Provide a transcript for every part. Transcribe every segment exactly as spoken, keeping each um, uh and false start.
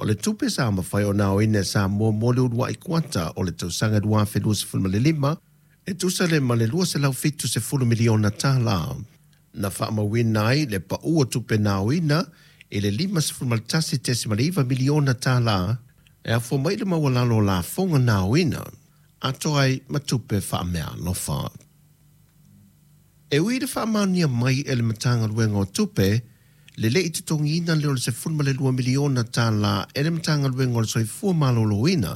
O le tupe sa mafai ona aoina e Samoa mo le uluai kuata o le tausaga dua afe luasefulu ma le lima e tusa lea ma le lua selau fitu sefulu miliona tālā. Na faamauina ai le pau o tupe na aoina i le lima sefulu ma le tasi tesima le iva miliona tālā e afua mai le maualalo o lafoga na aoina atoa ai ma tupe faameaalofa. E ui i le faamaonia mai e le Matagaluega o Tupe, le le i totogiina lea o le sefulu ma le lua miliona tālā e le Matagaluega o le Soifua Maloloina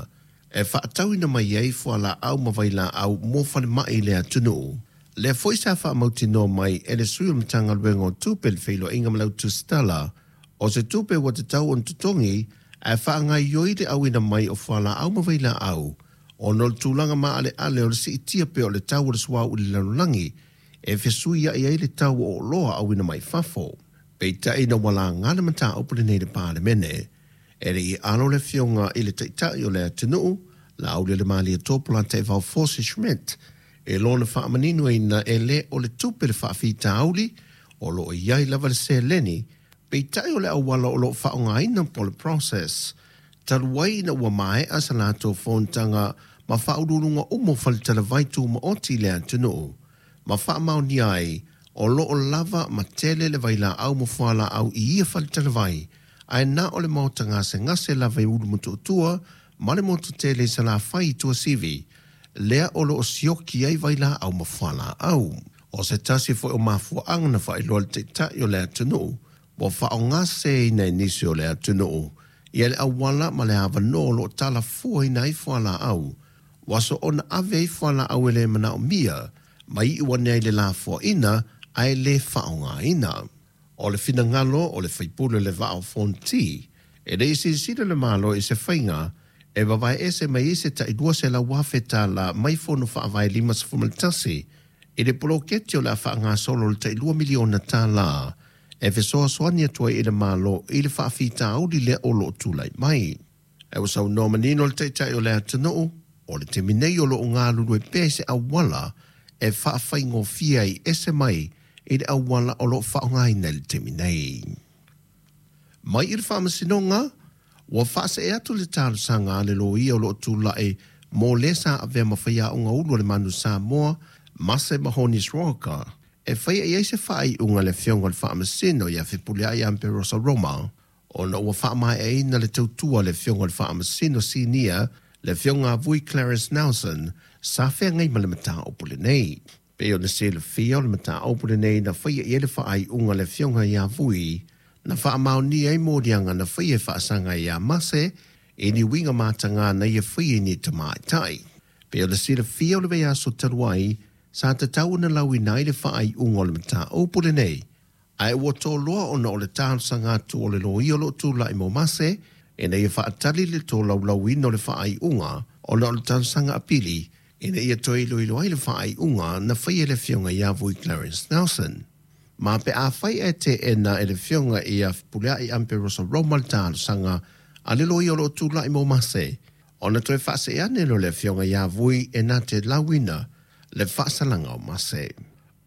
e faatauina mai ai fualaau ma vailaau mo falemai i le atunuu. Lea foi sa faamautinoa mai e le sui o le Matagaluega o Tupe le feiloaiga ma le autusitala o se tupe ua tatau ona totogi ae faagaoioi le auina mai o fualaau ma vailaau ona o le tulaga maaleale o le siitia pea o le tau o le suauu i le lalolagi e fesuiai ai le tau o oloa auina mai fafo. Peitai ina ua laga le mataupu lenei i le Palemene, e le i alo le afioga i le Taitai o le atunuu, Laaulialemalietoa Polataivao Fosi Schmidt, e lona faamaninoina e le o le tupe le faafitauli o lo o i ai lava le seleni, peitai o le auala o lo o faaaogaina po o le process. Talu ai ina ua maea sa latou fonotaga ma faauluuluga uma o faletalavai tumaoti i le atunuu, ma faamaonia ai o lo o lava ma tele le vailaau ma fualaau i ia faletalavai, ae na o le maota gasegase lava i Ulumotootua ma le motu tele i Salafai i Tuasivi, lea o lo o sioki ai vailaau ma fualaau. O se tasi foi o mafuaaga na faailoa le Taitai o le atunuu ua faaaogaseseina e nisi o le atunuu ia le auala ma le avanoa o lo o talafuaina ai fualaau, ua soona ave ai fualaau e le manaomia ma iu ane ai le lafoaiga ae le faaaogaina. O le finagalo o le faipule le Vaa o Fonoti, e le i silasila le Malo i se faiga e vavaeese mai ai se tai lua selau afe tālā mai fono faavae lima sefulu ma le tasi i le poloketi o le a faagasolo le tai lua miliona tālā e fesoasoani atu ai i le Malo i le faafitauli lea o lo o tulai mai. Ae ua saunoa manino le Taitai o le atunuu, o le taimi nei o lo o galulue pea i se auala e faafaigofie ai ese mai i le auala o lo o faaaogaina i le taimi nei. Mai i le Faamasinoga, ua faasee atu le talosaga a le loia o lo o tulai mo le sa avea ma faiaoga ulu o le Manu Samoa, Mase Mahoni Sroka, e faia i ai se faaiuga a le afioga i le Faamasino ia Fepuleai Amperosa Roma, ona ua faamaeaina le tautua a le afioga i le Faamasino Sinia, le afioga a Vui Clarence Nelson, sa feagai ma le mataupu lenei. Pei ona silafia o le mataupu lenei na faia i ai le faaiuga a le afioga ia Vui, na faamaonia ai moliaga na faia e faasaga ia Mase i ni uiga mataga na ia faia i ni tamaitai. Pei ona silafia o le vaiaso talu ai, sa tatau ona lauina ai le faaiuga o le mataupu lenei, ae ua toloa ona o le talosaga atu o le loia o lo o tulai mo Mase ina ia faatali le tolaulauina o le faaiuga ona o le talosaga apili ina ia toe iloilo ai le faaiuga na faia e le afioga ia Vui Clarence Nelson. Ma pe afai ae teena e le afioga ia Fepuleai Amperosa Roma le talosaga a le loia o lo o tulai mo Mase, ona toe faasee ane lea o le afioga ia Vui e na te lauina le faasalaga o Mase.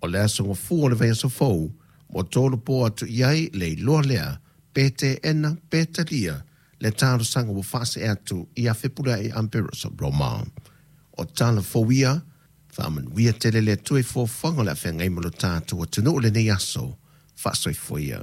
O le aso Gafua o le vaiaso fou, ua tolopo atu i ai le iloa lea, pe teena pe talia le talosaga ua faasee atu ia Fepuleai Amperosa Roma. O tala fou ia, faamanuia tele le Atua i foafoaga o le a feagai ma lo tatou atunuu i lenei aso. Faasoifua ia.